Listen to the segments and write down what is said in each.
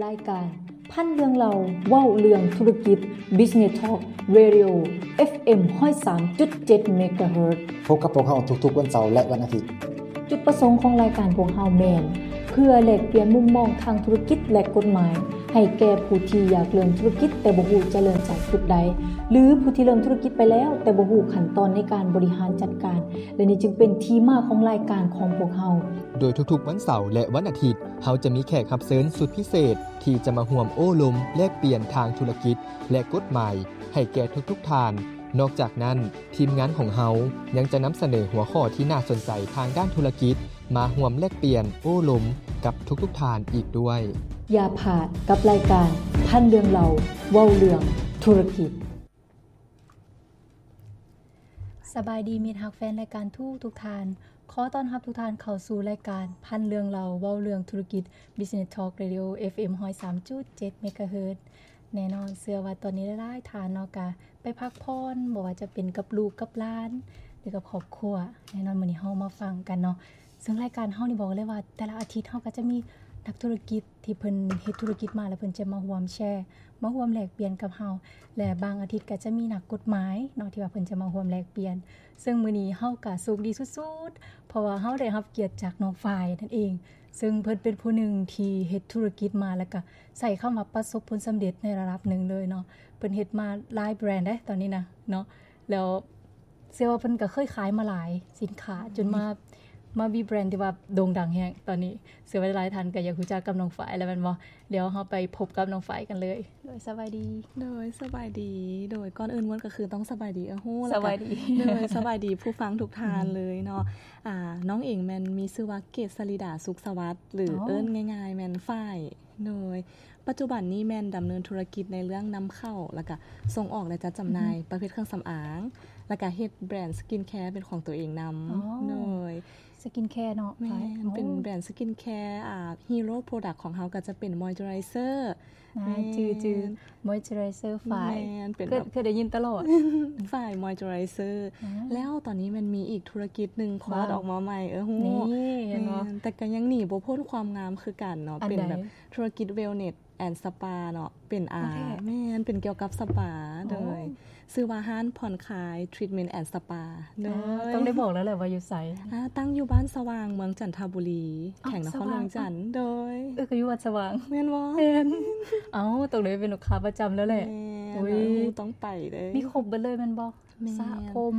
ລາຍການພັນເລື່ອງເລົ່າ ເວົ້າເລື່ອງທຸລະກິດ Business Talk Radio ເອັຟເອັມ ຮ້ອຍສາມຈຸດເຈັດ ເມກາເຮີດ. ພົບກັບພວກເຮົາທຸກໆວັນເສົາ ແລະ ວັນອາທິດ. ຈຸດປະສົງຂອງລາຍການພວກເຮົາແມ່ນ ເພື່ອແລກປ່ຽນມຸມມອງທາງທຸລະກິດ ແລະ ກົດໝາຍ ໃຫ້ແກ່ຜູ້ທີ່ຢາກເລີ່ມທຸລະກິດ ແຕ່ບໍ່ຮູ້ຈະເລີ່ມຈາກຈຸດໃດ ຫຼື ຜູ້ທີ່ເລີ່ມທຸລະກິດໄປແລ້ວ ແຕ່ບໍ່ຮູ້ຂັ້ນຕອນໃນການບໍລິຫານຈັດການ. ແລະ ນີ້ຈຶ່ງເປັນທີ່ມາຂອງລາຍການຂອງພວກເຮົາ. ໂດຍທຸກໆວັນເສົາ ແລະ ວັນອາທິດ, ເຮົາຈະມີແຂກຮັບເຊີນສຸດພິເສດ ທີ່ຈະມາຮ່ວມໂອ້ລົມແລກປ່ຽນທາງທຸລະກິດ ແລະ ກົດໝາຍໃຫ້ແກ່ທຸກໆທ່ານ. ນອກຈາກນັ້ນ, ທີມງານຂອງເຮົາຍັງຈະນຳສະເໜີຫົວຂໍ້ທີ່ໜ້າສົນໃຈທາງດ້ານທຸລະກິດ ມາຮ່ວມແລກປ່ຽນໂອ້ລົມກັບທຸກໆທ່ານອີກດ້ວຍ. ຢ່າພາດກັບລາຍການພັນເລື່ອງເລົ່າ ເວົ້າເລື່ອງທຸລະກິດ. ສະບາຍດີມິດຮັກແຟນລາຍການທຸກໆທ່ານ. ຂໍຕ້ອນຮັບທຸກທ່ານເຂົ້າສູ່ລາຍການພັນເລື່ອງເລົ່າ ເວົ້າເລື່ອງທຸລະກິດ Business Talk Radio ເອັຟເອັມ ຮ້ອຍສາມຈຸດເຈັດ ເມກາເຮີດ. ແນ່ນອນ ເຊື່ອວ່າຕອນນີ້ຫຼາຍໆທ່ານເນາະ ກະໄປພັກຜ່ອນ ບໍ່ວ່າຈະເປັນກັບລູກກັບຫຼານ ຫຼືກັບຄອບຄົວ. ແນ່ນອນ ມື້ນີ້ເຮົາມາຟັງກັນເນາະ ເຊິ່ງລາຍການເຮົານີ້ບອກເລີຍວ່າ ແຕ່ລະອາທິດເຮົາກໍຈະມີນັກທຸລະກິດທີ່ເພິ່ນເຮັດທຸລະກິດມາ ແລ້ວເພິ່ນຈະມາຮ່ວມແຊ ມາຮ່ວມແລກປ່ຽນກັບເຮົາ ແລະ ບາງອາທິດກໍຈະມີນັກກົດໝາຍເນາະ ທີ່ວ່າເພິ່ນຈະມາຮ່ວມແລກປ່ຽນ. ເຊິ່ງມື້ນີ້ເຮົາກໍໂຊກດີສຸດໆ ເພາະວ່າເຮົາໄດ້ຮັບກຽດຈາກນ້ອງຝ້າຍນັ້ນເອງ ເຊິ່ງເພິ່ນເປັນຜູ້ໜຶ່ງທີ່ເຮັດທຸລະກິດມາ ແລ້ວກໍໃຊ້ຄຳວ່າປະສົບຜົນສຳເລັດໃນລະດັບໜຶ່ງເລີຍເນາະ. ເພິ່ນເຮັດມາຫຼາຍແບຣນເດ້ຕອນນີ້ນະເນາະ ແລ້ວເຊື່ອວ່າເພິ່ນກໍເຄີຍຂາຍມາຫຼາຍສິນຄ້າ ຈົນມາ ມາມີແບຣນທີ່ວ່າໂດ່ງດັງແຮງຕອນນີ້. ເຊື່ອວ່າຫຼາຍໆທ່ານກໍຢາກຮູ້ຈັກກັບນ້ອງຝ້າຍແລ້ວແມ່ນບໍ່? ດຽວເຮົາໄປພົບກັບນ້ອງຝ້າຍກັນເລີຍ. ໂດຍ ສະບາຍດີ. ໂດຍ ສະບາຍດີ. ໂດຍ ກ່ອນອື່ນໝົດກໍຄືຕ້ອງສະບາຍດີເອື້ອຍຮູ້ ສະບາຍດີ ແລ້ວກໍ ໂດຍ ສະບາຍດີຜູ້ຟັງທຸກທ່ານເລີຍເນາະ. ອືມ ອາ ນ້ອງເອງແມ່ນມີຊື່ວ່າ ເກດສະລິດາ ສຸກສະຫວັດ ຫຼື ອໍ ເອີ້ນງ່າຍໆແມ່ນຝ້າຍ. ໂດຍ ປັດຈຸບັນນີ້ແມ່ນດຳເນີນທຸລະກິດໃນເລື່ອງນຳເຂົ້າ ແລ້ວກະສົ່ງອອກ ແລະ ຈັດຈຳໜ່າຍ ອືຮຶ ປະເພດເຄື່ອງສຳອາງ ແລ້ວກະເຮັດແບຣນສະກິນແຄເປັນຂອງຕົວເອງນຳ. ອໍ ໂດຍ ສະກິນແຄເນາະ ແມ່ນ ຝ້າຍ ເປັນ ອໍ ແບຣນສະກິນແຄ ອາ Hero Product ຂອງເຮົາກໍຈະເປັນ Moisturizer ອ່າ ແມ່ນ ຈື່ໆ Moisturizer ຝ້າຍ ແມ່ນ ເປັນ ເຄີຍ ແບບ ເຄີຍໄດ້ຍິນຕະຫຼອດ ຝ້າຍ Moisturizer ອໍ ແລ້ວຕອນນີ້ແມ່ນມີອີກທຸລະກິດໜຶ່ງຄອດ ວ້າວ ອອກມາໃໝ່ ເອີ ຮູ້ ນີ້ ເຫັນບໍ່ ແມ່ນ ແຕ່ກໍຍັງໜີບໍ່ພົ້ນຄວາມງາມຄືກັນເນາະ ອັນໃດ ເປັນແບບທຸລະກິດ Wellness and Spa ເນາະ ເປັນ ອາ ໂອເຄ ແມ່ນ ເປັນກ່ຽວກັບສະປາ ອໍ ໂດຍ ຊື່ວ່າຮ້ານຜ່ອນຄາຍ Treatment and Spa ໂດຍ ອໍ ຕ້ອງໄດ້ບອກແລ້ວແຫຼະວ່າຢູ່ໃສ ອາ ຕັ້ງຢູ່ບ້ານສະຫວ່າງ ເມືອງຈັນທະບູລີ ອ້າວ ແຂວງນະຄອນຫຼວງຈັນ ສະຫວ່າງ ໂດຍ ເອີ ກໍຢູ່ວັດສະຫວ່າງ ແມ່ນບໍ່? ແມ່ນ ເອົ້າ ຕ້ອງໄດ້ເປັນລູກຄ້າປະຈຳແລ້ວແຫຼະ ແມ່ນ ໂອ້ຍ ຕ້ອງໄປເດ້ ມີຄົບເບິດເລີຍແມ່ນບໍ່? ແມ່ນ ສະຜົມ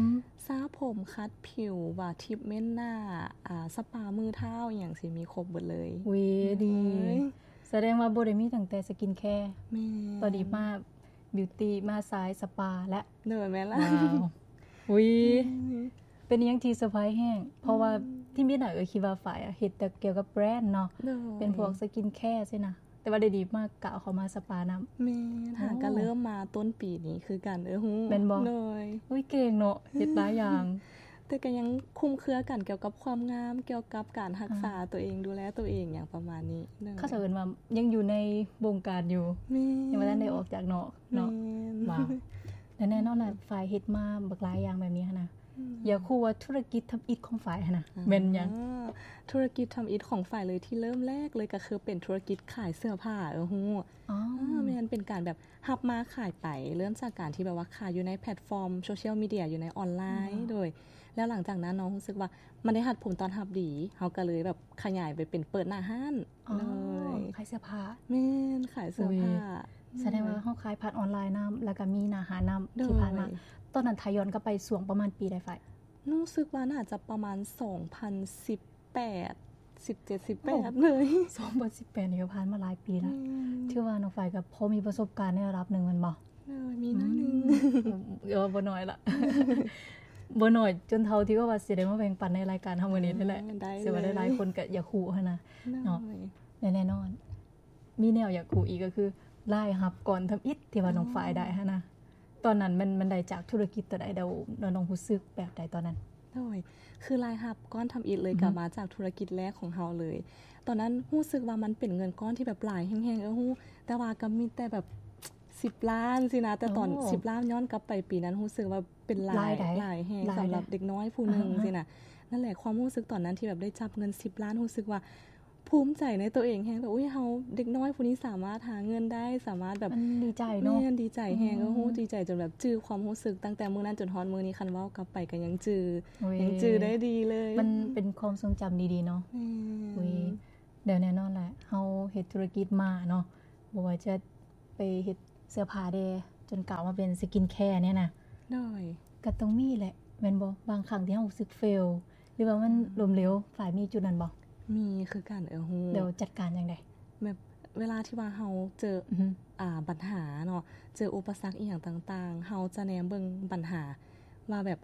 ສະຜົມ ຂັດຜິວ ວ່າ treatment ໜ້າ ອາ ສະປາມືເທົ້າ ອີ່ຫຍັງຊີ້ ມີຄົບເບິດເລີຍ ອຸ້ຍ ໂອ້ຍ ດີ ສະແດງວ່າບໍ່ໄດ້ມີຕັ້ງແຕ່ສະກິນແຄ ແມ່ນ ຕອນນີ້ມາບິວຕີ ມາສາຍສະປາແລ້ວ ໂດຍ ແມ່ນລະ ວ້າວ ອຸ້ຍ ອືມ ເປັນອີ່ຫຍັງທີ່ເຊີໄພຣສ໌ແຮງ ເພາະວ່າ ອືມ ທີ່ມີໜ້າເອື້ອຍຄິດວ່າຝ້າຍເຮັດແຕ່ກ່ຽວກັບແບຣນເນາະ ໂດຍ ເປັນພວກສະກິນແຄຊີ້ນະ ແຕ່ວ່າດຽວນີ້ມາກ້າວເຂົ້າມາສະປານຳ ແມ່ນ ໂອ້ ຫາກໍເລີ່ມມາຕົ້ນປີນີ້ຄືກັນ ເອີ ຮູ້ ແມ່ນບໍ່? ໂດຍ ອຸ້ຍ ເກັ່ງເນາະ ເຮັດຫຼາຍຢ່າງ ແຕ່ກໍຍັງຄຸມເຄືອກັນກ່ຽວກັບຄວາມງາມ ກ່ຽວກັບການຮັກສາ ອ່າ ຕົວເອງ ດູແລຕົວເອງ ຫຍັງປະມານນີ້ ໂດຍ ເຂົາເຈົ້າເອີ້ນວ່າຍັງຢູ່ໃນວົງການຢູ່ ແມ່ນ ຍັງບໍ່ທັນໄດ້ອອກຈາກນອກເນາະ ແມ່ນ ວ້າວ ແລະແນ່ນອນນະ ຝ້າຍເຮັດມາບັກຫຼາຍຢ່າງແບບນີ້ຫັ້ນນະ ອືມ ຢາກຮູ້ວ່າທຸລະກິດທຳອິດຂອງຝ້າຍຫັ້ນນະ ອ່າ ແມ່ນຫຍັງ? ທຸລະກິດທຳອິດຂອງຝ້າຍເລີຍ ທີ່ເລີ່ມແລກເລີຍກໍຄືເປັນທຸລະກິດຂາຍເສື້ອຜ້າ ເອີ ຮູ້ ອໍ ອາ ແມ່ນ ເປັນການແບບຮັບມາຂາຍໄປ ເລີ່ມຈາກການທີ່ແບບວ່າຂາຍຢູ່ໃນແພລດຟອມໂຊຊຽວມີເດຍ ຢູ່ໃນອອນລາຍ ອືມ ໂດຍ ແລ້ວຫຼັງຈາກນັ້ນເນາະ ຮູ້ສຶກວ່າມັນໄດ້ຮັບຜົນຕອບຮັບດີ ເຮົາກໍເລີຍແບບຂະຫຍາຍໄປເປັນເປີດໜ້າຮ້ານ ອໍ ເລີຍ ຂາຍເສື້ອຜ້າ ແມ່ນ ຂາຍເສື້ອຜ້າ ອຸ້ຍ ສະແດງວ່າເຮົາຂາຍຜ່ານອອນລາຍນຳ ແລ້ວກໍມີໜ້າຮ້ານນຳ ໂດຍ ທີ່ຜ່ານມາ ຕອນນັ້ນຖ້າຍ້ອນກັບໄປຊ່ວງປະມານປີໃດ ຝ້າຍ? ຮູ້ສຶກວ່າໜ້າຈະປະມານສອງພັນສິບແປດ ສິບເຈັດ ສິບແປດ ໂອ້ ເລີຍ ສອງພັນສິບແປດ ນີ້ກໍຜ່ານມາຫຼາຍປີລະ ແມ່ນ ຖືວ່ານ້ອງຝ້າຍກໍພໍມີປະສົບການໃນລະດັບໜຶ່ງແມ່ນບໍ່? ເອີ ມີໜ້ອຍໜຶ່ງ ອືມ ເອີ ບໍ່ໜ້ອຍລະ ບໍ່ໜ້ອຍຈົນເທົ່າທີ່ວ່າຊິໄດ້ມາແບ່ງປັນໃນລາຍການເຮົາມື້ນີ້ນີ້ແຫຼະ ເອີ ໄດ້ເລີຍ ເຊື່ອວ່າຫຼາຍໆຄົນກໍຢາກຮູ້ຫັ້ນນະ ໂດຍ ເນາະ ແລະແນ່ນອນ ມີແນວຢາກຮູ້ອີກກໍຄືລາຍຮັບກ້ອນທຳອິດທີ່ວ່າ ອໍ ນ້ອງຝ້າຍໄດ້ຫັ້ນນະ ຕອນນັ້ນມັນ ມັນໄດ້ຈາກທຸລະກິດຕົວໃດ ແລ້ວ ແລ້ວນ້ອງຮູ້ສຶກແບບໃດຕອນນັ້ນ? ໂດຍ ຄືລາຍຮັບກ້ອນທຳອິດເລີຍ ອືຮຶ ກໍມາຈາກທຸລະກິດແລກຂອງເຮົາເລີຍ ຕອນນັ້ນຮູ້ສຶກວ່າມັນເປັນເງິນກ້ອນທີ່ແບບຫຼາຍແຮງໆ ເອີ ຮູ້ ແຕ່ວ່າກໍມີແຕ່ແບບສິບລ້ານຊີ້ນະ ແຕ່ຕອນ ໂອ້ ສິບລ້ານ ຍ້ອນກັບໄປປີນັ້ນ ຮູ້ສຶກວ່າເປັນຫຼາຍ ຫຼາຍໃດ ຫຼາຍແຮງ ຫຼາຍໃດ ສຳລັບເດັກນ້ອຍຜູ້ໜຶ່ງ ອ່າ ຊີ້ນະ ນັ້ນແຫຼະ ຄວາມຮູ້ສຶກຕອນນັ້ນທີ່ແບບໄດ້ຈັບເງິນສິບລ້ານ ຮູ້ສຶກວ່າ ພູມໃຈໃນໂຕເອງແຮງ ແບບ ອຸ້ຍ ເຮົາເດັກນ້ອຍຜູ້ນີ້ສາມາດຫາເງິນໄດ້ ສາມາດແບບ ມັນດີໃຈເນາະ ແມ່ນ ດີໃຈແຮງ ອືມ ໂອ້ໂຫ ດີໃຈຈົນແບບຈື່ຄວາມຮູ້ສຶກຕັ້ງແຕ່ມື້ນັ້ນຈົນຮອດມື້ນີ້ ຄັນເວົ້າກັບໄປກໍຍັງຈື່ ໂອ້ຍ ຍັງຈື່ໄດ້ດີເລີຍ ມັນເປັນຄວາມຊົງຈຳດີໆເນາະ ແມ່ນ ອຸ້ຍ ແລ້ວແນ່ນອນແຫຼະ ເຮົາເຮັດທຸລະກິດມາເນາະ ບໍ່ວ່າຈະໄປເຮັດເສື້ອຜ້າແດ່ ຈົນກ້າວມາເປັນສະກິນແຄນີ້ນະ ໂດຍ ກໍຕ້ອງມີແຫຼະ ແມ່ນບໍ່? ບາງຄັ້ງທີ່ເຮົາຮູ້ສຶກເຟວ ຫຼືວ່າມັນ ອືມ ລົ້ມເຫຼວ ຝ້າຍມີຈຸດນັ້ນບໍ່? ມີຄືກັນ ເອີ ຮູ້ ແລ້ວຈັດການຈັ່ງໃດ? ແບບເວລາທີ່ວ່າເຮົາເຈີ ອືຮຶ ອ່າ ບັນຫາເນາະ ເຈີອຸປະສັກອີ່ຫຍັງຕ່າງໆ ເຮົາຈະແນມເບິ່ງບັນຫາວ່າແບບ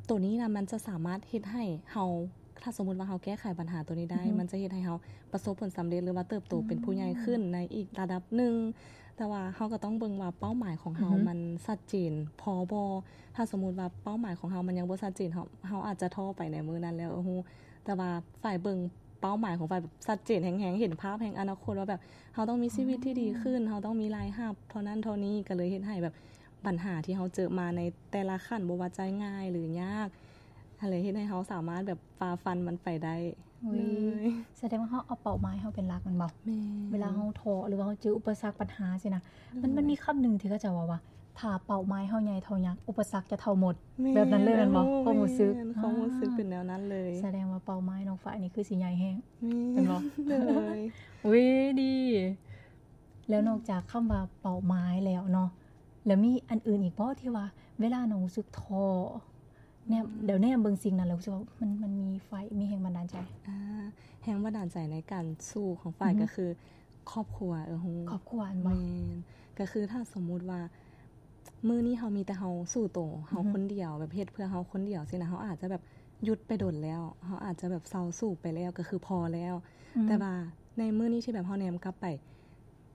ໂຕນີ້ນະ ມັນຈະສາມາດເຮັດໃຫ້ເຮົາ ຖ້າສົມມຸດວ່າເຮົາແກ້ໄຂບັນຫາໂຕນີ້ໄດ້ ອືຮຶ ມັນຈະເຮັດໃຫ້ເຮົາປະສົບຜົນສຳເລັດ ຫຼືວ່າເຕີບໂຕເປັນຜູ້ໃຫຍ່ຂຶ້ນ ອືມ ໃນອີກລະດັບໜຶ່ງ ແຕ່ວ່າເຮົາກໍຕ້ອງເບິ່ງວ່າເປົ້າໝາຍຂອງເຮົາ ອືຮຶ ມັນຊັດເຈນພໍບໍ່? ຖ້າສົມມຸດວ່າເປົ້າໝາຍຂອງເຮົາມັນຍັງບໍ່ຊັດເຈນ ເຮົາ ເຮົາອາດຈະທໍ້ໄປໃນມື້ນັ້ນແລ້ວ ຮູ້ ແຕ່ວ່າຝ້າຍເບິ່ງເປົ້າໝາຍຂອງຝ້າຍແບບຊັດເຈນແຮງໆ ເຫັນພາບແຮງອະນາຄົດວ່າແບບເຮົາຕ້ອງມີຊີວິດທີ່ດີຂຶ້ນ ອໍ ເຮົາຕ້ອງມີລາຍຮັບເທົ່ານັ້ນເທົ່ານີ້ ກໍເລີຍເຮັດໃຫ້ແບບ ບັນຫາທີ່ເຮົາເຈີມາໃນແຕ່ລະຂັ້ນ ບໍ່ວ່າຈະງ່າຍຫຼືຍາກ ຫັ້ນແຫຼະ ເຮັດໃຫ້ເຮົາສາມາດແບບຝ່າຟັນມັນໄປໄດ້ ໂອ້ຍ ເລີຍ ສະແດງວ່າເຮົາເອົາເປົ້າໝາຍເຮົາເປັນຫຼັກແມ່ນບໍ່? ແມ່ນ ເວລາເຮົາທໍ້ ຫຼືວ່າເຮົາເຈີອຸປະສັກບັນຫາຊີ້ນະ ໂດຍ ມັນ ມັນມີຄຳໜຶ່ງທີ່ເຂົາເຈົ້າເວົ້າວ່າ ຖ້າເປົ້າໝາຍເຮົາໃຫຍ່ເທົ່າຍັກ ອຸປະສັກຈະເທົ່າໝົດ ແມ່ນ ແບບນັ້ນເລີຍແມ່ນບໍ່? ໂອ້ ຄວາມຮູ້ສຶກ ແມ່ນ ຄວາມຮູ້ສຶກ ອ່າ ເປັນແນວນັ້ນເລີຍ ສະແດງວ່າເປົ້າໝາຍນ້ອງຝ້າຍນີ້ຄືຊິໃຫຍ່ແຮງ ແມ່ນ ແມ່ນບໍ່? ໂດຍ ອຸ້ຍ ດີ ແລ້ວນອກຈາກຄຳວ່າເປົ້າໝາຍແລ້ວເນາະ ແລ້ວມີອັນອື່ນອີກບໍ່ທີ່ວ່າເວລານ້ອງຮູ້ສຶກທໍ້ ແນມ ອືມ ແລ້ວແນມເບິ່ງສິ່ງນັ້ນແລ້ວຮູ້ສຶກວ່າມັນ ມັນມີໄຟ ມີແຮງບັນດານໃຈ? ອ່າ ແຮງບັນດານໃຈໃນການສູ້ຂອງຝ້າຍ ອືຮຶ ກໍຄືຄອບຄົວ ເອີ ຮູ້ ຄອບຄົວ ແມ່ນບໍ່? ແມ່ນ ກໍຄືຖ້າສົມມຸດວ່າມື້ນີ້ເຮົາມີແຕ່ເຮົາສູ້ໂຕເຮົາ ອືຮຶ ຄົນດຽວ ແບບເຮັດເພື່ອເຮົາຄົນດຽວຊີ້ນະ ເຮົາອາດຈະແບບຢຸດໄປດົນແລ້ວ ເຮົາອາດຈະແບບເຊົາສູ້ໄປແລ້ວ ກໍຄືພໍແລ້ວ ອືມ ແຕ່ວ່າໃນມື້ນີ້ທີ່ແບບເຮົາແນມກັບໄປ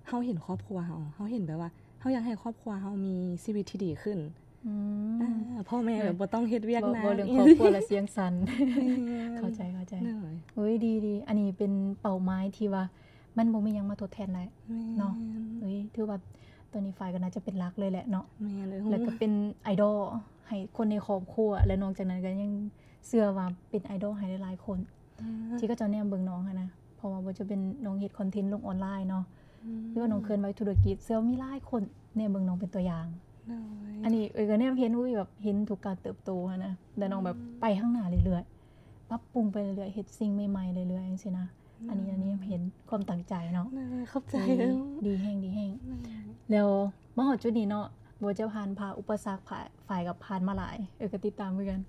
ເຮົາເຫັນຄອບຄົວເຮົາ ເຮົາເຫັນແບບວ່າ ເຮົາຢາກໃຫ້ຄອບຄົວເຮົາມີຊີວິດທີ່ດີຂຶ້ນ ອືມ ອ່າ ພໍ່ແມ່ແບບບໍ່ຕ້ອງເຮັດວຽກໜັກ ເວົ້າເລື່ອງຄອບຄົວແລ້ວສຽງສັ່ນ ແມ່ນ ເຂົ້າໃຈ ເຂົ້າໃຈ ໂດຍ ໂອ້ຍ ດີໆ ອັນນີ້ເປັນເປົ້າໝາຍທີ່ວ່າມັນບໍ່ມີຫຍັງມາທົດແທນໄດ້ ແມ່ນ ເນາະ ໂອ້ຍ ຖືວ່າຕອນນີ້ຝ້າຍກໍໜ້າຈະເປັນຫຼັກເລີຍແຫຼະເນາະ ແມ່ນ ແລ້ວກໍເປັນໄອດອລໃຫ້ຄົນໃນຄອບຄົວ ແລະ ນອກຈາກນັ້ນກໍຍັງເຊື່ອວ່າເປັນໄອດອລໃຫ້ຫຼາຍໆຄົນ ອ່າ ທີ່ເຂົາເຈົ້າແນມເບິ່ງນ້ອງຫັ້ນນະ ເພາະວ່າບໍ່ຈະເປັນນ້ອງເຮັດຄອນເທັນລົງອອນລາຍເນາະ ອືມ ຫຼືວ່ານ້ອງເຄື່ອນໄຫວທຸລະກິດ ເຊື່ອວ່າມີຫຼາຍຄົນແນມເບິ່ງນ້ອງເປັນຕົວຢ່າງ ໂດຍ ອັນນີ້ເອື້ອຍກໍແນມເຫັນ ອຸ້ຍ ແບບເຫັນທຸກການເຕີບໂຕຫັ້ນນະ ແລ້ວນ້ອງແບບ ອືມ ໄປຂ້າງໜ້າເລື້ອຍໆ ປັບປຸງໄປເລື້ອຍໆ ເຮັດສິ່ງໃໝ່ໆເລື້ອຍໆ ຈັ່ງຊີ້ນະ ອືມ ອັນນີ້ ອັນນີ້ເຫັນຄວາມຕັ້ງໃຈເນາະ ໂດຍ ຂອບໃຈ ໂອ້ຍ ດີແຮງ ດີແຮງ ໂດຍ ແລ້ວມາຮອດຈຸດນີ້ເນາະ ບໍ່ວ່າຈະຜ່ານຜ່າອຸປະສັກ ຝ້າຍ ຝ້າຍກໍຜ່ານມາຫຼາຍ ເອື້ອຍກໍຕິດຕາມຄືກັນ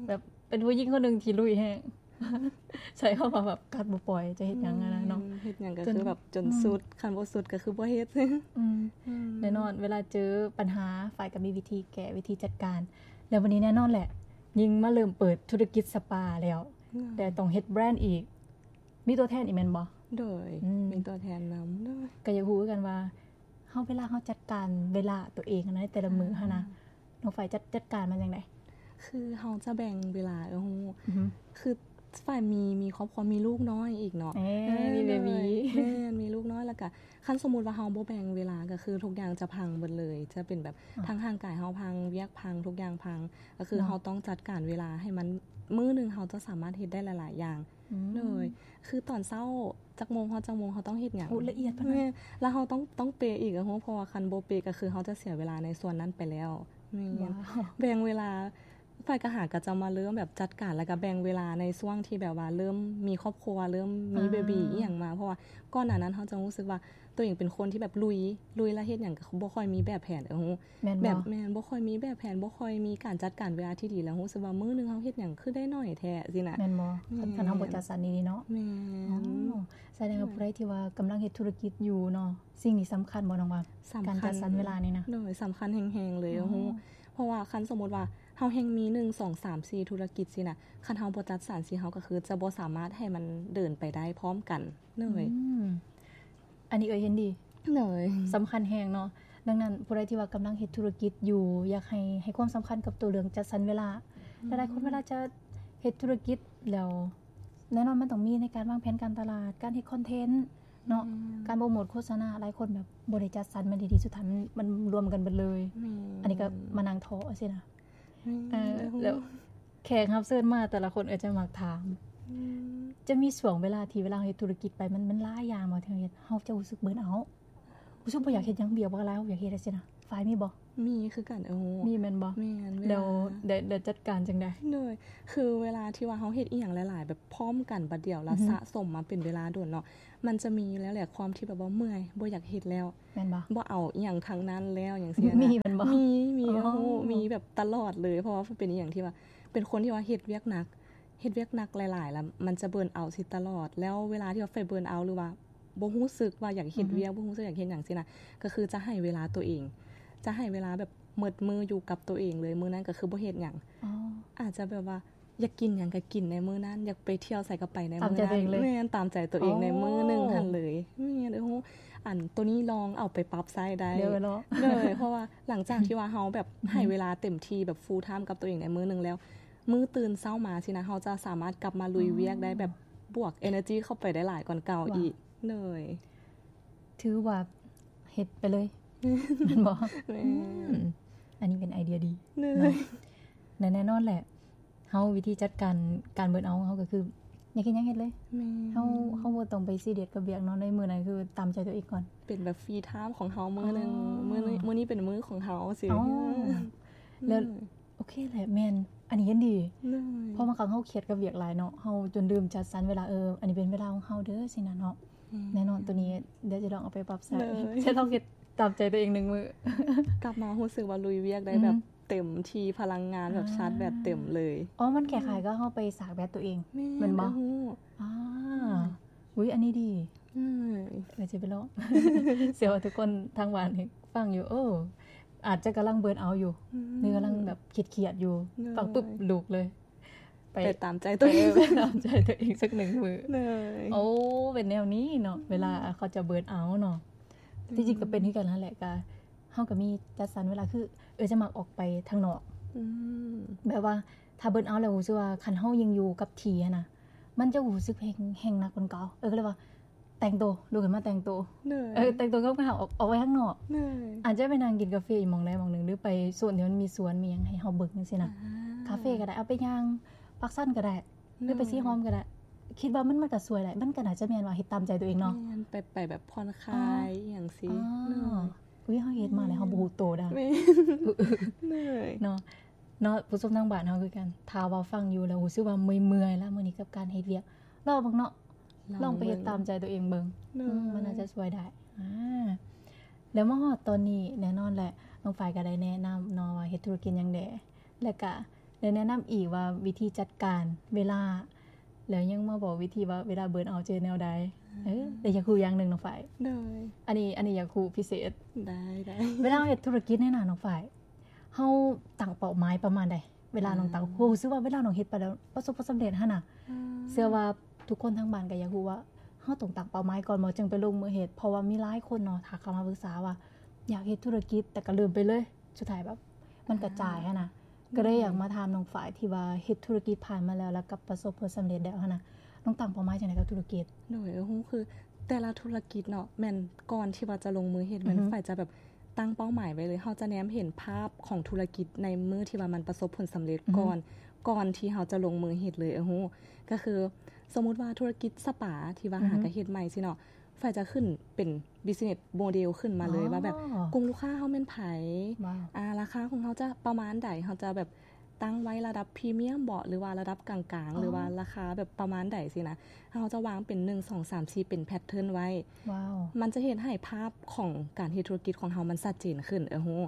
ໂດຍ ແບບ ເປັນຜູ້ຍິງຄົນໜຶ່ງທີ່ລຸຍແຮງ ໃຊ້ຄຳວ່າແບບກັດບໍ່ປ່ອຍ ຈະເຮັດຫຍັງຫັ້ນນະເນາະ ແມ່ນ ເຮັດຫຍັງກໍຄືແບບຈົນສຸດ ອືມ ຄັນບໍ່ສຸດກໍຄືບໍ່ເຮັດ ອືມ ອືມ ແນ່ນອນ ເວລາເຈີບັນຫາ ຝ້າຍກໍມີວິທີແກ້ ວິທີຈັດການ ແລ້ວບັດນີ້ແນ່ນອນແຫຼະ ຍິ່ງມາເລີ່ມເປີດທຸລະກິດສະປາແລ້ວ ອືມ ແລ້ວຕ້ອງເຮັດແບຣນອີກ ມີຕົວແທນອີກແມ່ນບໍ່? ໂດຍ ອືມ ມີຕົວແທນນຳ ໂດຍ ກໍຢາກຮູ້ຄືກັນວ່າ ເຮົາ ເວລາເຮົາຈັດການເວລາຕົວເອງໃນແຕ່ລະມື້ຫັ້ນນະ ອືມ ນ້ອງຝ້າຍຈັດ ຈັດການມັນຈັ່ງໃດ? ຄືເຮົາຈະແບ່ງເວລາ ເອີ ຮູ້ ອືຮຶ ຄືຝ້າຍມີ ມີຄອບຄົວ ມີລູກນ້ອຍອີກເນາະ ເອີ ເອີ ມີເບບີ ໂດຍ ແມ່ນ ມີລູກນ້ອຍ ແລ້ວກະຄັນສົມມຸດວ່າເຮົາບໍ່ແບ່ງເວລາ ກໍຄືທຸກຢ່າງຈະພັງເບິດເລີຍ ຈະເປັນແບບ ອ່າ ທັງຮ່າງກາຍເຮົາພັງ ວຽກພັງ ທຸກຢ່າງພັງ ກໍຄື ເນາະ ເຮົາຕ້ອງຈັດການເວລາໃຫ້ມັນ ມື້ໜຶ່ງເຮົາຈະສາມາດເຮັດໄດ້ຫຼາຍໆຢ່າງ ອືມ ໂດຍ ຄືຕອນເຊົ້າ ຈັກໂມງຮອດຈັກໂມງ ເຮົາຕ້ອງເຮັດຫຍັງ ໂອ້ ລະອຽດປານນັ້ນ ແມ່ນ ແລ້ວເຮົາຕ້ອງ ຕ້ອງເປະອີກ ເພາະວ່າຄັນບໍ່ເປະ ກໍຄືເຮົາຈະເສຍເວລາໃນສ່ວນນັ້ນໄປແລ້ວ ແມ່ນ ວ້າວ ແບ່ງເວລາ ຝ້າຍກະຫາກະຈະມາເລີ່ມແບບຈັດການ ແລ້ວກະແບ່ງເວລາໃນຊ່ວງທີ່ແບບວ່າເລີ່ມມີຄອບຄົວ ເລີ່ມມີ ອ່າ ເບບີອີ່ຫຍັງມາ ເພາະວ່າກ່ອນໜ້ານັ້ນເຮົາຈະຮູ້ສຶກວ່າ ຕົວເອງເປັນຄົນທີ່ແບບລຸຍ ລຸຍແລ້ວເຮັດຫຍັງກໍບໍ່ຄ່ອຍມີແບບແຜນ ເອີ ຮູ້ ແມ່ນບໍ່? ແບບ ແມ່ນ ບໍ່ຄ່ອຍມີແບບແຜນ ບໍ່ຄ່ອຍມີການຈັດການເວລາທີ່ດີ ແລ້ວຮູ້ສຶກວ່າມື້ໜຶ່ງເຮົາເຮັດຫຍັງຄືໄດ້ໜ້ອຍແທ້ຊີ້ນະ ແມ່ນບໍ່? ແມ່ນ ຄັນ ຄັນເຮົາບໍ່ຈັດສັນດີໆເນາະ ແມ່ນ ອໍ ສະແດງວ່າຜູ້ໃດທີ່ວ່າກຳລັງເຮັດທຸລະກິດຢູ່ເນາະ ສິ່ງນີ້ສຳຄັນບໍ່ ນ້ອງວ່າ ສຳຄັນ ການຈັດສັນເວລານີ້ນະ ໂດຍ ສຳຄັນແຮງໆເລີຍ ອໍ ຮູ້ ເພາະວ່າຄັນສົມມຸດວ່າເຮົາແຮ່ງມີ ໜຶ່ງ ສອງ ສາມ ສີ່ ທຸລະກິດຊີ້ນະ ຄັນເຮົາບໍ່ຈັດສັນຊີ້ ເຮົາກໍຄືຈະບໍ່ສາມາດໃຫ້ມັນເດີນໄປໄດ້ພ້ອມກັນ ໂດຍ ອືມ ອັນນີ້ເອື້ອຍເຫັນດີ ໂດຍ ສຳຄັນແຮງເນາະ ດັ່ງນັ້ນຜູ້ໃດທີ່ວ່າກຳລັງເຮັດທຸລະກິດຢູ່ ຢາກໃຫ້ ໃຫ້ຄວາມສຳຄັນກັບໂຕເລື່ອງຈັດສັນເວລາ ອືມ ຫຼາຍໆຄົນເວລາຈະເຮັດທຸລະກິດແລ້ວ ແນ່ນອນມັນຕ້ອງມີໃນການວາງແຜນການຕະຫຼາດ ການເຮັດຄອນເທັນເນາະ ອືມ ການໂປຣໂມດໂຄສະນາ ຫຼາຍຄົນແບບບໍ່ໄດ້ຈັດສັນມັນດີໆ ສຸດທ້າຍມັນ ມັນລວມກັນເບິດເລີຍ ແມ່ນ ອັນນີ້ກໍມານັ່ງທໍ້ຊີ້ນະ ແມ່ນ ເອີ ແລ້ວ ແຂກຮັບເຊີນມາແຕ່ລະຄົນກໍຈະມັກຖາມ ອືມ ຈະມີຊ່ວງເວລາທີ່ເວລາເຮົາເຮັດທຸລະກິດໄປ ມັນ ມັນຫຼາຍຢ່າງບໍ່ ທີ່ເຮົາເຮັດ ເຮົາຈະຮູ້ສຶກເບີນເອົາ ຮູ້ສຶກບໍ່ຢາກເຮັດຫຍັງ ວຽກບັກຫຼາຍ ເຮົາຢາກເຮັດຈັ່ງຊີ້ນະ ຝ່າຍມີບໍ່? ມີຄືກັນ. ເອີ ມີແມ່ນບໍ່? ແມ່ນ ແລ້ວ ແລ້ວຈັດການຈັ່ງໃດ? ໂດຍ ຄືເວລາທີ່ວ່າເຮົາເຮັດອີ່ຫຍັງຫຼາຍໆ ແບບພ້ອມກັນບັດດຽວ ແລ້ວສະສົມມາເປັນເວລາດົນເນາະ ມັນຈະມີຢູ່ແລ້ວແຫຼະ ຄວາມທີ່ແບບວ່າເມື່ອຍ ບໍ່ຢາກເຮັດແລ້ວ ແມ່ນບໍ່? ບໍ່ເອົາອີ່ຫຍັງທັງນັ້ນແລ້ວ ຫຍັງຊີ້ນະ. ມີແມ່ນບໍ່? ມີ ມີ. ໂອ້ ມີແບບຕະຫຼອດເລີຍ ເພາະວ່າເປັນອີ່ຫຍັງທີ່ວ່າ ເປັນຄົນທີ່ວ່າເຮັດວຽກໜັກ ເຮັດວຽກໜັກຫຼາຍໆ ແລ້ວມັນຈະເບີນເອົາຊິຕະຫຼອດ ແລ້ວເວລາທີ່ວ່າໄຟເບີນເອົາ ຫຼືວ່າບໍ່ຮູ້ສຶກວ່າຢາກເຮັດວຽກ ບໍ່ຮູ້ສຶກຢາກເຮັດຫຍັງຊີ້ນະ ກໍຄືຈະໃຫ້ເວລາຕົວເອງ ຈະໃຫ້ເວລາແບບໝົດມື້ຢູ່ກັບຕົວເອງເລີຍ ມື້ນັ້ນກໍຄືບໍ່ເຮັດຫຍັງ. ອາດຈະແບບວ່າຢາກກິນຫຍັງກໍກິນໃນມື້ນັ້ນ ຢາກໄປທ່ຽວໃສກໍໄປໃນມື້ນັ້ນ. ຕາມໃຈຕົວເອງເລີຍ. ແມ່ນ ຕາມໃຈຕົວເອງໃນມື້ໜຶ່ງຫັ້ນເລີຍ. ອໍ ແມ່ນ. ໂອ້ ອັນໂຕນີ້ລອງເອົາໄປປັບໃຊ້ໄດ້ເນາະ. ໂດຍ ເພາະວ່າຫຼັງຈາກທີ່ວ່າເຮົາແບບໃຫ້ເວລາເຕັມທີ່ ແບບ full time ກັບຕົວເອງໃນມື້ໜຶ່ງແລ້ວ ມື້ຕື່ນເຊົ້າມາຊີ້ນະ ເຮົາຈະສາມາດກັບມາລຸຍວຽກໄດ້ແບບບວກ energy ເຂົ້າໄປໄດ້ຫຼາຍກວ່າເກົ່າອີກ. ໂດຍ ຖືວ່າເຮັດໄປເລີຍ ແມ່ນບໍ່? ແມ່ນ. ອັນນີ້ເປັນໄອເດຍດີເນາະ ແລະ ແນ່ນອນແຫຼະ ເຮົາ ວິທີຈັດການການເບີນເອົາຂອງເຮົາກໍຄື ຢາກເຮັດຫຍັງເຮັດເລີຍ. ແມ່ນ. ເຮົາ ເຮົາບໍ່ຕ້ອງໄປຊີຣຽສກັບວຽກເນາະ ໃນມື້ນັ້ນຄືຕາມໃຈຕົວເອງກ່ອນ ເປັນແບບ free time ຂອງເຮົາມື້ໜຶ່ງ. ມື້ນີ້ ມື້ນີ້ເປັນມື້ຂອງເຮົາຊີ້. ແລ້ວ ໂອເຄແຫຼະ ແມ່ນ ອັນນີ້ເຫັນດີ. ເພາະບາງຄັ້ງເຮົາຄຽດກັບວຽກຫຼາຍເນາະ ເຮົາຈົນລືມຈັດສັນເວລາ ເອີ ອັນນີ້ເປັນເວລາຂອງເຮົາເດີ ຊີ້ນະເນາະ. ແນ່ນອນ ໂຕນີ້ດຽວຈະລອງເອົາໄປປັບໃຊ້ ຈະລອງເຮັດຕາມໃຈຕົວເອງໜຶ່ງມື້ ກັບມາຮູ້ສຶກວ່າລຸຍວຽກໄດ້ແບບເຕັມທີ່ ພະລັງງານແບບຊາດແບັດເຕັມເລີຍ. ອໍ ມັນຄ້າຍໆກັບເຮົາໄປຊາດແບັດຕົວເອງ ແມ່ນບໍ່? ອາ ອຸ້ຍ ອັນນີ້ດີ. ເອີ ຈະໄປລອງ ເຊື່ອວ່າທຸກຄົນທາງບ້ານຟັງຢູ່ ໂອ້ ອາດຈະກຳລັງເບີນເອົາຢູ່ ຫຼືກຳລັງແບບຄຽດໆຢູ່ ຟັງປຶບລຸກເລີຍ ໄປ ໄປຕາມໃຈຕົວເອງ ເອີ ໄປຕາມໃຈຕົວເອງສັກໜຶ່ງມື້. ໂອ້ ເປັນແນວນີ້ເນາະ ເວລາເຂົາຈະເບີນເອົາເນາະ. ທີ່ຈິງກໍເປັນຄືກັນຫັ້ນແຫຼະ ກະເຮົາກໍມີຈັດສັນເວລາ ຄື ເອີ ຈະມັກອອກໄປທາງນອກ ແບບວ່າຖ້າເບີນເອົາແລ້ວຮູ້ສຶກວ່າ ຄັນເຮົາຍັງຢູ່ກັບທີ່ຫັ້ນນະ ມັນຈະຮູ້ສຶກແຮງ ແຮງໜັກກວ່າເກົ່າ. ເອີ ກໍເລີຍວ່າ ແຕ່ງໂຕ ລຸກຂຶ້ນມາແຕ່ງໂຕ ເອີ ແຕ່ງໂຕງາມໆ ອອກ ອອກໄປຂ້າງນອກ ອາດຈະໄປນັ່ງກິນກາເຟອີກໝ່ອງໃດໝ່ອງໜຶ່ງ ຫຼືໄປໂຊນທີ່ມັນມີສວນມີຫຍັງໃຫ້ເຮົາເບິ່ງຈັ່ງຊີ້ນະ. ຄາເຟກໍໄດ້ ເອົາໄປຍ່າງປາກຊັນກໍໄດ້ ຫຼືໄປສີຫອມກໍໄດ້ ຄິດວ່າມັນ ມັນກໍຊ່ວຍໄດ້. ມັນກໍໜ້າຈະແມ່ນວ່າເຮັດຕາມໃຈຕົວເອງເນາະ ແມ່ນ ໄປ ໄປແບບຜ່ອນຄາຍ ອືມ ອີ່ຫຍັງຊີ້. ອໍ ເນາະ ອຸ້ຍ ເຮົາເຮັດມາແລ້ວເຮົາບໍ່ຮູ້ໂຕດາ ແມ່ນ ເນາະ. ເນາະ ຜູ້ຊົມທາງບ້ານເຮົາຄືກັນ ຖ້າວ່າຟັງຢູ່ແລ້ວຮູ້ສຶກວ່າເມື່ອຍໆລະມື້ນີ້ກັບການເຮັດວຽກ ລອງເບິ່ງເນາະ ລອງໄປເຮັດຕາມໃຈຕົວເອງເບິ່ງ ມັນໜ້າຈະຊ່ວຍໄດ້. ອາ ແລ້ວມາຮອດຕອນນີ້ ແນ່ນອນແຫຼະ ນ້ອງຝ້າຍກໍໄດ້ແນະນຳເນາະວ່າເຮັດທຸລະກິດຫຍັງແດ່ ແລະກະໄດ້ແນະນຳອີກວ່າວິທີຈັດການເວລາ ແລ້ວຍັງມາບອກວິທີວ່າເວລາເບີນເອົາຈະເຮັດແນວໃດ. ເອີ ແຕ່ຢາກຮູ້ຢ່າງໜຶ່ງນ້ອງຝ້າຍ ໂດຍ ອັນນີ້ ອັນນີ້ຢາກຮູ້ພິເສດ. ໄດ້ ໄດ້. ເວລາເຮົາເຮັດທຸລະກິດນີ້ນະນ້ອງຝ້າຍ ເຮົາຕັ້ງເປົ້າໝາຍປະມານໃດ? ເວລານ້ອງຕັ້ງ ອືມ ຮູ້ສຶກວ່າເວລານ້ອງເຮັດໄປແລ້ວປະສົບຜົນສຳເລັດຫັ້ນນະ ອືມ ເຊື່ອວ່າທຸກຄົນທາງບ້ານກໍຢາກຮູ້ວ່າ ເຮົາຕ້ອງຕັ້ງເປົ້າໝາຍກ່ອນບໍ່ ຈຶ່ງໄປລົງມືເຮັດ? ເພາະວ່າມີຫຼາຍຄົນເນາະ ທັກເຂົ້າມາປຶກສາວ່າ ຢາກເຮັດທຸລະກິດ ແຕ່ກໍເລີ່ມໄປເລີຍ ສຸດທ້າຍແບບມັນກະຈາຍຫັ້ນນະ. ອືມ ກໍເລີຍຢາກມາຖາມນ້ອງຝ້າຍ ທີ່ວ່າເຮັດທຸລະກິດຜ່ານມາແລ້ວ ແລ້ວກໍປະສົບຜົນສຳເລັດແລ້ວຫັ້ນນະ ນ້ອງຕັ້ງເປົ້າໝາຍຈັ່ງໃດກັບທຸລະກິດ? ໂດຍ ເອີ ຮູ້ ຄືແຕ່ລະທຸລະກິດເນາະ ແມ່ນກ່ອນທີ່ວ່າຈະລົງມືເຮັດ ແມ່ນ ອືຮຶ ຝ້າຍຈະແບບຕັ້ງເປົ້າໝາຍໄວ້ເລີຍ ເຮົາຈະແນມເຫັນພາບຂອງທຸລະກິດໃນມື້ທີ່ວ່າມັນປະສົບຜົນສຳເລັດ ອືຮຶ ກ່ອນ ກ່ອນທີ່ເຮົາຈະລົງມືເຮັດເລີຍ. ເອີ ຮູ້ ກໍຄືສົມມຸດວ່າທຸລະກິດສະປາທີ່ວ່າ ອືຮຶ ຫາກໍເຮັດໃໝ່ຊີ້ເນາະ ຝ້າຍຈະຂຶ້ນເປັນ business model ຂຶ້ນມາເລີຍ ອໍ ວ່າແບບກຸ່ມລູກຄ້າເຮົາແມ່ນໃຜ ວ້າວ ອາ ລາຄາຂອງເຮົາຈະປະມານໃດ ເຮົາຈະແບບຕັ້ງໄວ້ລະດັບພຣີມຽມບໍ ຫຼືວ່າລະດັບກາງໆ ອໍ ຫຼືວ່າລາຄາແບບປະມານໃດຊີ້ນະ ເຮົາຈະວາງເປັນ ໜຶ່ງ ສອງ ສາມ ສີ່ ເປັນ pattern ໄວ້. ວ້າວ ມັນຈະເຮັດໃຫ້ພາບຂອງການເຮັດທຸລະກິດຂອງເຮົາມັນຊັດເຈນຂຶ້ນ. ເອີ ຮູ້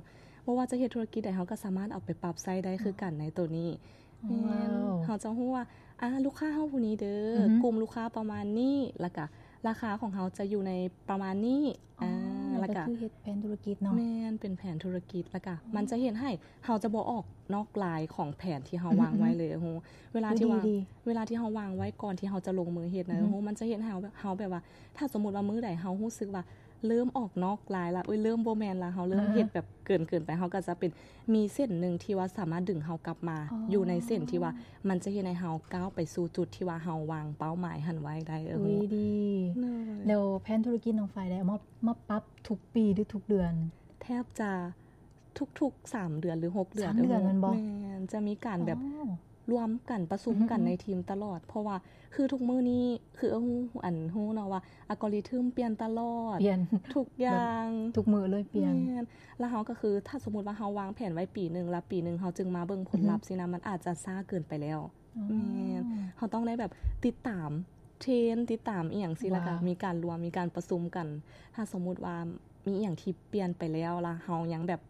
ບໍ່ວ່າຈະເຮັດທຸລະກິດໃດ ເຮົາກໍສາມາດເອົາໄປປັບໃຊ້ໄດ້ຄືກັນໃນໂຕນີ້. ອືຮຶ ແມ່ນ ວ້າວ ເຮົາຈະຮູ້ວ່າ ອາ ລູກຄ້າເຮົາຜູ້ນີ້ເດີ ອືຮຶ ກຸ່ມລູກຄ້າປະມານນີ້ ແລ້ວກະລາຄາຂອງເຮົາຈະຢູ່ໃນປະມານນີ້. ອໍ ອາ ແລ້ວກໍ ແລ້ວກໍຄືເຮັດແຜນທຸລະກິດເນາະ. ແມ່ນ ເປັນແຜນທຸລະກິດ ແລ້ວກໍ ອືມ ມັນຈະເຮັດໃຫ້ເຮົາຈະບໍ່ອອກນອກລາຍຂອງແຜນທີ່ເຮົາ ອືຮຶ ວາງໄວ້ເລີຍ. ໂອ້ໂຫ ເວລາທີ່ວ່າ ດີໆ ເວລາທີ່ເຮົາວາງໄວ້ກ່ອນທີ່ເຮົາຈະລົງມືເຮັດນະ ອືຮຶ ໂອ້ໂຫ ມັນຈະເຮັດໃຫ້ເຮົາ ເຮົາແບບວ່າ ຖ້າສົມມຸດວ່າມື້ໃດເຮົາຮູ້ສຶກວ່າ ເລີ່ມອອກນອກລາຍລະ ເອີຍ ເລີ່ມບໍ່ແມ່ນລະ ເຮົາເລີ່ມເຮັດແບບເກີນໆໄປ ເຮົາກໍຈະເປັນ ມີເສັ້ນໜຶ່ງທີ່ວ່າສາມາດດຶງເຮົາກັບມາ ອໍ ຢູ່ໃນເສັ້ນທີ່ວ່າມັນຈະເຮັດໃຫ້ເຮົາກ້າວໄປສູ່ຈຸດທີ່ວ່າເຮົາວາງເປົ້າໝາຍຫັ້ນໄວ້ໄດ້. ເອີ ອຸ້ຍ ດີ ໂດຍ ແລ້ວແຜນທຸລະກິດນ້ອງຝ້າຍໄດ້ເອົາມາ ມາປັບທຸກປີ ຫຼື ທຸກເດືອນ? ແທບຈະທຸກໆສາມເດືອນ ຫຼື ຫົກເດືອນ. ສາມເດືອນແມ່ນບໍ່? ແມ່ນ ຈະມີການແບບ ອໍ ລວມກັນປະຊຸມກັນ ອືມໆ ໃນທີມຕະຫຼອດ ເພາະວ່າຄືທຸກມື້ນີ້ ຄືເອີ່ງ ອັນ ຮູ້ເນາະວ່າ algorithm ປ່ຽນຕະຫຼອດ ປ່ຽນ ທຸກຢ່າງ ແບບທຸກມື້ເລີຍປ່ຽນ ແມ່ນ ແລ້ວເຮົາກໍຄື ຖ້າສົມມຸດວ່າເຮົາວາງແຜນໄວ້ປີໜຶ່ງ ແລ້ວປີໜຶ່ງເຮົາຈຶ່ງມາເບິ່ງຜົນລັບ ອືຮຶ ຊີ້ນະ ມັນອາດຈະຊ້າເກີນໄປແລ້ວ ອໍ ແມ່ນ ເຮົາຕ້ອງໄດ້ແບບຕິດຕາມເທຣນ ຕິດຕາມອີ່ຫຍັງຊີ້ ແລ້ວກໍ ວ້າວ ມີການລວມ ມີການປະຊຸມກັນ ຖ້າສົມມຸດວ່າມີອີ່ຫຍັງທີ່ປ່ຽນໄປແລ້ວ ແລ້ວເຮົາຍັງແບບ